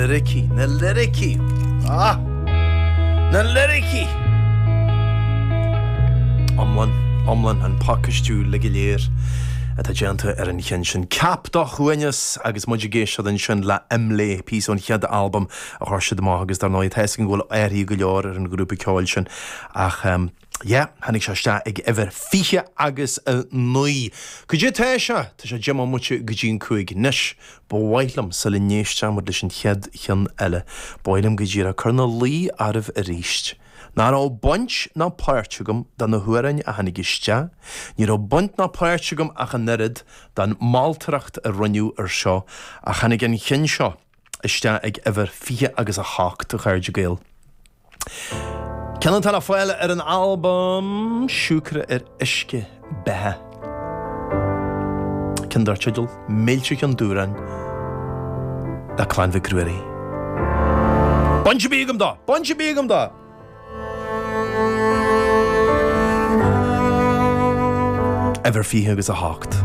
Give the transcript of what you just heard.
liricí, na liricí! Ah! Na liricí! Iomlán, iomlán, an pacáistiú uilig go léir atá déanta ar an cheann sin. Ceap do shuaimhneas agus muid ag éisteacht ansin le Imlé, píosa ón chéad albam a chuir siad amach agus dar ndóigh tá 'fhios againn go bhfuil athruithe go leor ar an ghrúpa ceoil sin ach yeah, tháinig sé isteach ag uimhir 20 agus 9. Cad é atá sé? Tá sé 10 mbomaite go dtí an 5 anois. Ba mhaith liom, sula n-éistfidh muid leis an chéad cheann eile, ba mhaith liom go díreach cur ina luí oraibh arís nach raibh baint ná páirt agam do na hamhráin a tháinig isteach, ní raibh baint ná páirt agam ach an oiread don mholtóireacht a rinneadh ar seo, ach tháinig an ceann seo isteach ag uimhir 20 agus 8, a chairde Gael. Ceann atá le fáil ar an albam Siúcra ar Uisce Beatha. Ceann dar teideal Méilte Cheann Dubhráin le Clann Mhic Ruairí. Baint ar bith agam dó! Baint ar bith agam dó! Uimhir 20 agus 8.